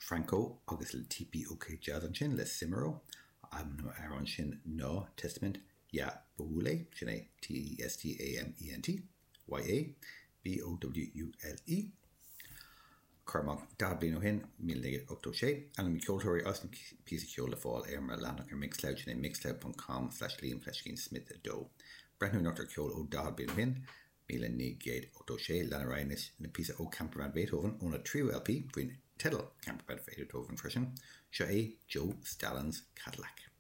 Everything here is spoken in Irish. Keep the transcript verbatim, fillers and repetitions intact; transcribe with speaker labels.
Speaker 1: Franco agus le TPOK Jazz ansin le Cimarro an amhrán sin ná Testament Ya Bowule sin é T-E-S-T-A-M-E-N-T Y-A B-O-W-U-L-E. Cormac daichead bliain ó shin míle naoi gcéad ochtó sé ainm na ceoltóirí as an píosa ceoil le fáil ar mo leathanach ar Mixcloud sin é mixcloud.com slash Liam fleiscín Smith a dó. Breathnú anocht ar ceol ó daichead bliain ó shin míle naoi gcéad ochtó sé lean ar aghaidh le píosa ó Campervan Beethoven óna tríú LP faoin teideal Campervan Beethoven freisin, seo é Joe Stalin's Cadillac.